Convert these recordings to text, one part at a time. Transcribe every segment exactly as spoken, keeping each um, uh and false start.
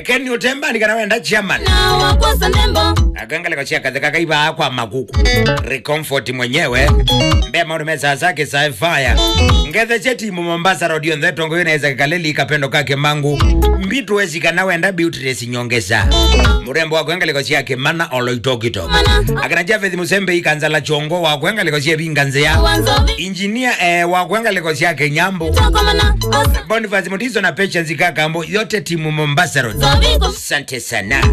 Ken Utembani kana wenda chairman. Na wakosa nembo. Akangaleko cia katheka kaiba kwa makuku. Recomfort mwenyewe. Mbe maũndũ me sasa kĩsae fire. Ngethe cia timu Mombasa Road yonthe tongo yoneza kaleli kapendo kake mangu. Mbitu wezi kana wenda Beatrice Nyongesa. Murembo wa kwengaleko cia Kimana Oloitokito. Akina Javeth Musembe ikanza la chongo wa kwengaleko cia Vinga Nzea. Engineer, eh, wa kwengaleko cia Kenyambu. Boniface Mutiso na Patience Kakambo, yote timu Mombasa Road. Asante sana.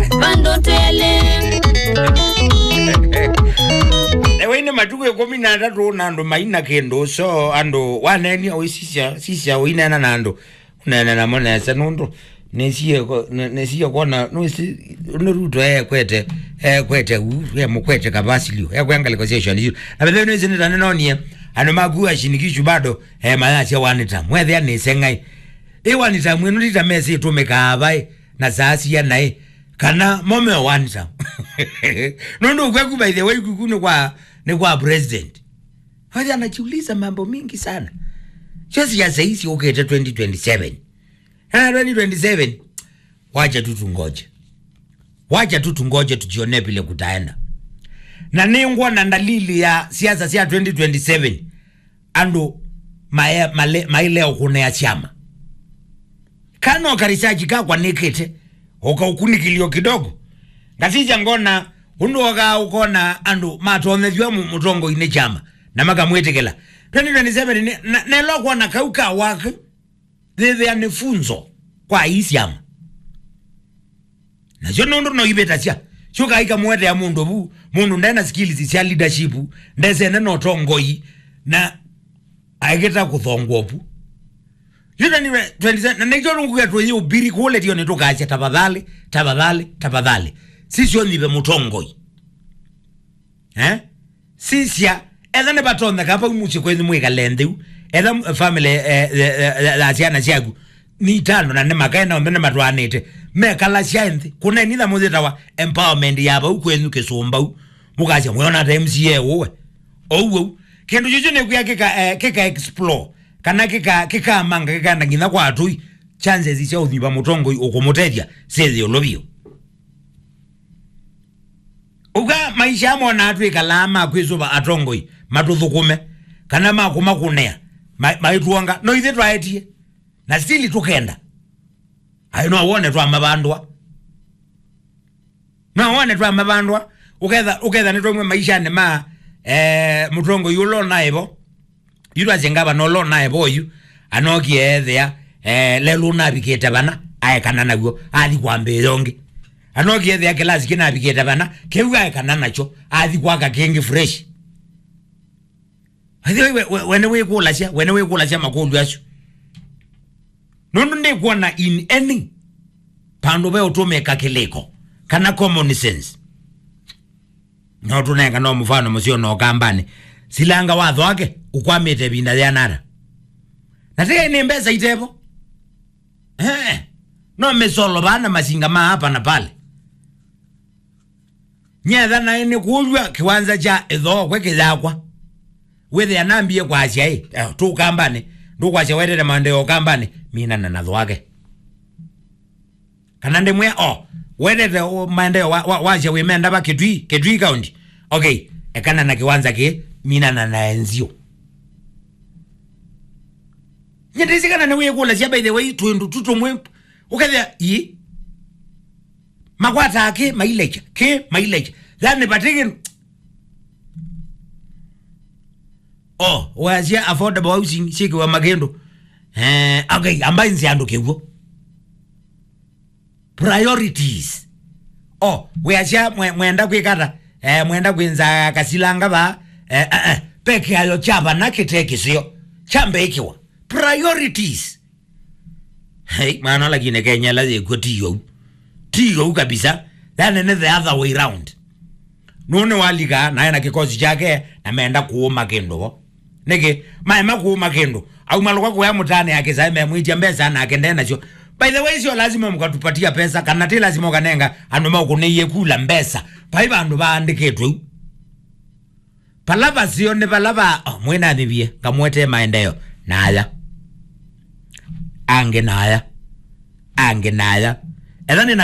Ewe ine matuku ikũmi na atatũ na andũ maina kĩndũ, so andũ waneni o sisya, sisya ũinena na andũ. Ũneena namo nesa nũndũ nĩsie ko-, nĩ-, nĩsie kwona nũsi nĩ Ruto ekwete, ekwete u, emũkwete Kavasilio, ekwea ngalĩko sya shoni isu. Na bethe nĩsi nĩta nĩnonie andũ makua shinikishu bado, eh, mayasya wanita. Mwethĩa nĩse ng'ai. Ĩ wanita mwenu ndita mesi ĩtũmĩkaa vai na saa sia naĩ. Kana mome wanita. Nũndũ kweku by the way kuku nĩ kwa, nĩ kwa president. Hadi anajiuliza mambo mingi sana. Sio siasa hizi ukete twenty twenty-seven. Ah, twenty twenty-seven. Wacha tu tungoje. Wacha tu tungoje tujione vile kutaenda. Na nĩngwona dalili ya siasa cia twenty twenty-seven. Andũ mae-, male-, maileo kunea chama. Kana ka research kakwa nĩkĩte, ũkaũkunĩkĩlyo kidogo. Ngasisya ngona, ũndũ okaa ũkona andũ matonyethw'a mu-, mũtongoinĩ chama, na makamwĩtĩkĩla. Twenty twenty-seven nĩ, na, nelo kwona kau ka wake, thĩthĩa nĩ funzo kwa ii syama. Nasyo nũndũ no ivĩtasya. Syũka ikamũetea mũndũ vu, mũndũ ndena skills sya leadership, ndesene na ũtongoi, na aeketa kũthongwa vu. Yu twenty twenty-seven, na nĩkyo nũkuga tũyĩ ũbiri kũle tio nĩtũkasya, "Tafadhali, tafadhali, tafadhali. Sisyo nyive mũtongoi." Eh? Sisya, etha nĩvatonyeka vau mũsyĩ kwenyu mwĩkale nthĩ u. Etha m-, family, eh, eh, eh, ya syana syaku nĩ itano na nĩ makae na onthe nĩmatwaanĩte. Mekalasya nthĩ. Kũneni tha mũyĩtawa empowerment ya vau kwenyu kĩsũmbau. Mũkasya, "Mwĩona ta M C A ũwe." Ou, ou. Kĩndũ kĩu nĩkwĩa kĩka, eh, kĩka explore. Kana kĩka, kĩkamanga, kĩkaenda nginya kwa atũi. Chances sya ũthiva mũtongoi ũkũmũtethya syĩthĩ ũlũ vyũ. Ũka maisha amo na twĩkalaa ma kwĩsũva atongoi matũthũkũme, kana ma kũmakũnĩa, ma-, maitwonga, no ithe twaetie, na still tũkenda. Ai, no wone twamavandwa. No wone twamavandwa, ũketha, ũketha nĩtwaumwe maishanĩ ma, eh, mũtongoi ũla ũnaĩvo. Yu twasye ngavana ũla ũnae voyu, anokie ethĩa, eh, lelũ ũnavikĩte vana, aekana naw'o, athi kwambĩĩa ũngĩ. Anokie ethĩa kĩlasi kĩnavikĩte vana, kĩu aekana nakyo, athi kwaka kĩngĩ fresh. Athi we, we, we nĩwĩkũlasya, we nĩwĩkũlasya makũlyo asu. Nũndũ ndĩkwona in any vandũ ve ũtũmĩka kĩlĩko, kana common sense. No tũnenga no mũfano mũseo no Ũkambanĩ. Silanga watho wake ũkwamĩte ĩvinda yĩana ata? Na tĩkai nĩ mbesa itevo. Eh, no mĩsolo vaa na masinga ma hapa na pale. Nyetha naĩ nĩ kũlw'a kĩwanza kya ĩthookwe kĩyakwa. Wĩthĩa nambie kwasya ĩ, eh, tũ Ũkambanĩ, ndũkwasya wetete maendeeo Ũkambanĩ, minana na thwake. Kana ndĩmwĩa, "Oh, wendete, oh, maendeeo wa, wa, wasya wĩmenda va Kitui, Kitui County? Okay, ekana na kĩwanza kĩ, minana na enzio." Nyendesĩ kana nĩwĩkũlasya, by the way, twĩndũ tu tũmwe, ũkethĩa, ii, makwataa kĩ mailecha, kĩ mailecha. Yani, vatĩkĩ, oh, wasya affordable housing, syĩkĩwa makĩndũ. Eh, okay, ambai nzĩ andũ kĩw'o. Priorities. Oh, weasya mwe-, mwenda kwĩkata, eh, mwenda kwĩnza kasilanga va, eh, eh, eh, peke yayo kya vana kĩte kĩseo, kya mbee kĩwa. Priorities. Hey, mwana lakini Kenya la yekwo ti yo. Ti yo kabisa. Yani nĩ the other way round. Nũũ nĩwalika, nae na kĩkosi kyake, na menda kũũma kĩndũ vo. Nĩkĩ? Maema kũũma kĩndũ. Aumalũka kũya mũtaanĩ ya kĩsaĩ memwĩtya mbesa nake nde nasyo. By the way, sio lazima mkatupatia pesa, kana ti lazima ũkanenga andũ maũkũnĩie kula mbesa. Vai vandũ vaandĩkĩtwe u. Vala vaseo nĩ vala va, oh, mwĩnanĩvie, ngamwetee maendeeo. Naya. Angĩ naya. Angĩ naya. Ethĩwa nĩ na